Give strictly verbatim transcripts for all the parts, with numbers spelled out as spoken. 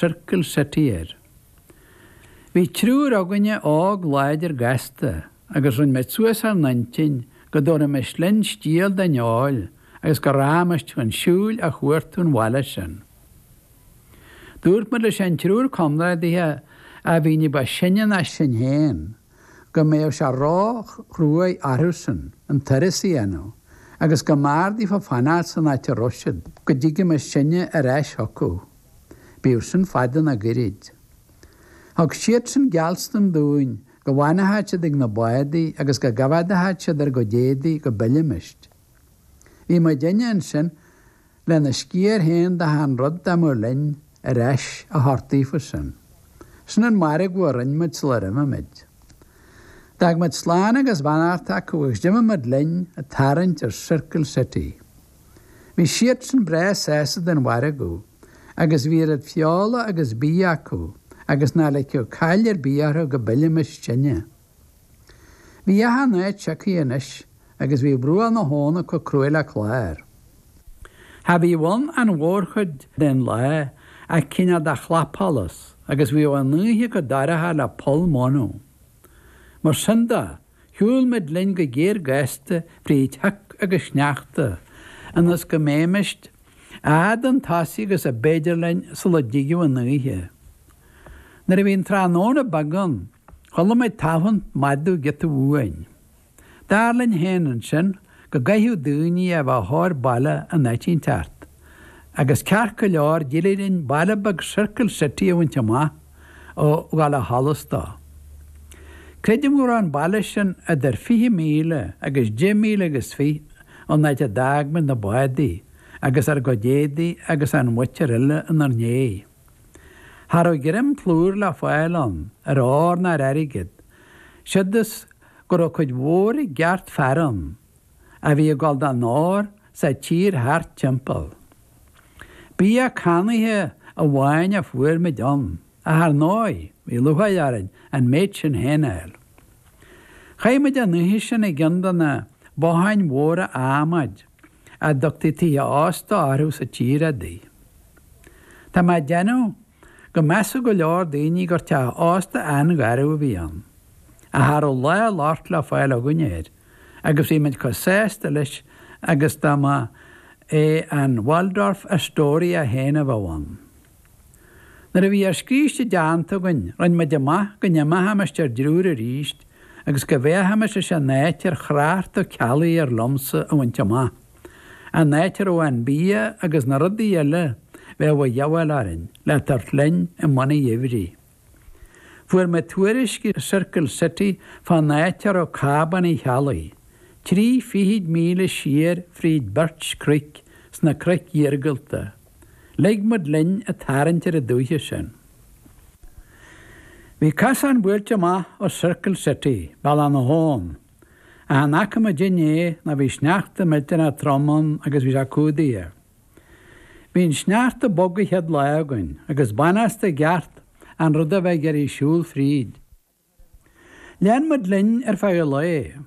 Circle City air. Bhí triúr againne óg láidir gasta agus rinne muid suas ár n-intinn go dtabharfaimis linn stiall den fheoil agus go rachaimis chun siúil a chuartú an bhaile sin. Dúirt muid leis an triúr comrádaithe a bhí ní ba sine ná sinn féin go mbeadh sé ró-chruaidh orthusan an turas a dhéanamh agus go mb'fhearr daofa fanacht san áit a raibh siad go dtigimis sinne ar ais chucu, bíodh sin fada nó gairid. Thug siadsan geallstan dúinn go bhfanfadh siad ag na bádaí agus go gcoimheádfadh siad ar a gcuid éadaí go bpillfimis. Bhí muidinne ansin lena sciar féin d'achan rud dá mbeadh linn ar ais a thabhairt daofasan. Sin an margadh a rinne muid sular imigh muid. D'fhág muid slán agus beannacht acu agus d'imigh muid linn ag tarraingt ar Circle City. Bhí siadsan breá sásta den mhargadh agus bhí oiread feola agus bídh acu agus ná ligfeadh caill ar bith orthu go bpillfimis sinne. Bhí achan áit sioctha anois agus bhí bruach na habhann chomh cruaidh le clár. Cha bhíodh ann an mhórchuid den lá ach cineál de chlapsholas agus bhíodh an oíche chomh dorcha le poll manadh. Mar sin de, shiúil muid linn go géar gasta fríd shioc agus sneachta, ionas go mbeimis a fhad chun tosaigh agus ab fhéidir linn sula dtigeadh an oíche. Nuair a bhí an tráthnóna beag ann, chuala muid tafann madadh giota uainn. Dar linn féin ansin go gcaithfeadh daoine a bheith ar thóir baile in áit inteacht, agus ceart go leor d'éirigh linn baile beag Circle City a bhaint amach ó dhul a sholas dó. Creidim go raibh an baile sin idir fiche míle agus deich míle agus fiche ón áit a d'fhág muid na bádaí agus ár gcuid éadaí agus an mhuintir eile inár ndiaidh. Cha raibh greim plúir le fáil ann ar ór ná ar airgead, siod is go raibh cuid mhór i gceart fear ann a bhí ag dul don ór sa tír thart timpeall. Bia cannaithe amháin a fuair muid ann. Ach ar ndóigh, bhí lúcháir orainn an méid sin féin a fháil. Chaith muid an oíche sin i gceann de na botháin mhóra adhmaid a dtugtaí tithe ósta orthu sa tír adaí. Tá mé ag déanamh go measfadh go leor daoine gur teach ósta an-gharbh a bhí ann, ach cha raibh lá loicht le fáil againn air, agus bhí muid chomh sásta leis agus dá mba é an Waldorf Astoria féin a bheadh ann. Nuair a bhí ár scríste déanta againn, rinne muid amach go n-imeochaimis ar dtriúr arís agus go bhféachfaimis leis an áit ar Chreacht Ó Ceallaigh ar liomsa a bhaint amach, an áit a raibh an bia agus na rudaí eile bheadh a dhíobháil orainn le tabhairt linn i mbun an gheimhridh. Fuair muid tuairisc i Circle City fán áit a raibh Cábán Uí Cheallaigh, trí fichid míle siar fríd Birch Creek sna cnoic iargúlta. Lig muid linn ag tarraingt ar an dúiche sin. Bhí cosán buailte amach ó Circle City, Bealach na hAbhann, ach chan fhaca muid é nó bhí sneachta millteanach trom ann agus bhí sé cumhdaithe. Bhí an sneachta bog an chéad lá againn agus b'anásta i gceart an rud a bheith ag iarraidh siúl fríd. Lean muid linn ar feadh an lae,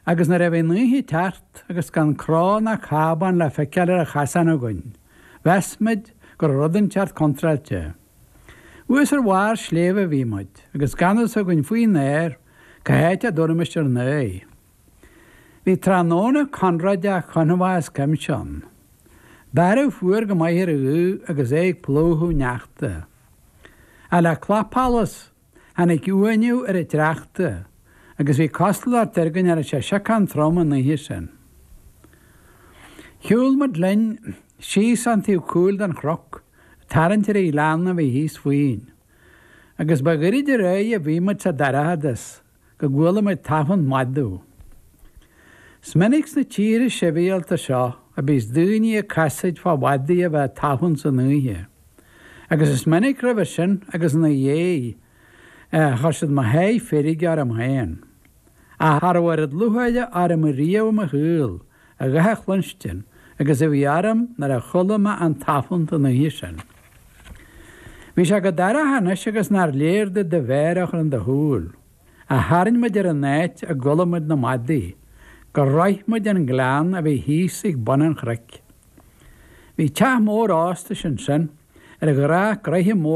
agus nuair a bhí an oíche ag teacht agus gan cró ná cábán le feiceáil ar an chasán againn, Mheas muid go raibh rud inteacht contráilte. Thuas ar bharr sléibhe a bhí muid, agus gan fhios againn faoin aer cá háit a dtabharfaimis ár n-aghaidh. Bhí tráthnóna conróideach confach as cuimse ann. Bearradh fuar go maith ar an ghaoth agus é ag plúchadh neachta. Ach le clapsholas, tháinig uaigniú ar an tsneachta, agus bhí cosúlacht air go ndearna sé siocán trom an oíche sin. Shiúil muid linn síos an taobh cúil den chnoc, ag tarraingt ar an ghleann a bhí thíos fúinn. Agus ba ghoirid ar aghaidh a bhí muid sa dorchadas go gcuala muid tafann madadh. Is minic sna tíortha sibhialta seo a bíos daoine ag casaoid fá mhadaí a bheith ag tafann san oíche. Agus is minic roimhe sin agus ina dhiaidh a chuir siad mo sháith feirge orm féin. Ach cha raibh oiread lúcháire orm riamh i mo shaol a dhath a chluinstin agus a bhí orm nuair a chuala mé an tafann an oíche sin. Bhí sé chomh dorcha anois agus nár léir duit do mhéar a chur in do shúil, ach tharraing muid ar an áit a gcuala muid na madaí, gur shroich muid an gleann a bhí thíos ag bun an chnoic. Bhí teach mór óstais ansin Ar ghnách graithe